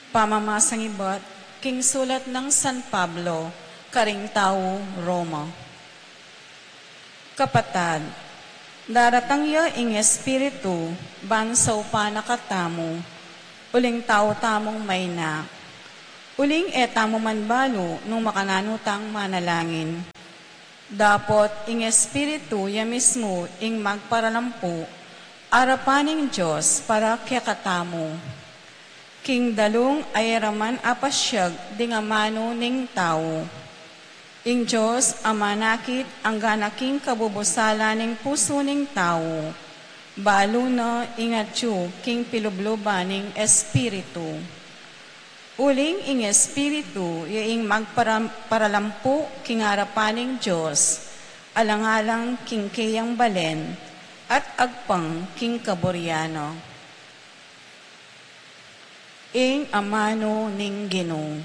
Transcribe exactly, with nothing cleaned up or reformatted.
Pamamasang ibat king sulat nang San Pablo karing tau Roma. Kapatad, daratang ya ing Espiritu ban saupan na katamu, uling tau tamung maina. Uling e tamu man balu nung makananu tang manalangin. Dapot ing Espiritu ya mismu ing magparalampu arapan ning Dios para kekatamu. King dalung a e ra man apasiag ding amanu ning tau. Ing Dios a manakit anggana king kabubusalan ning pusu ning tau, balu na ing atyu king pilubluban ning Espiritu. Uling ing Espiritu ya ing magpara-, paralampu king arapan ning Dios, alang-alang king keyang balen, at agpang king kaburian na. Ing amanu ning Ginu.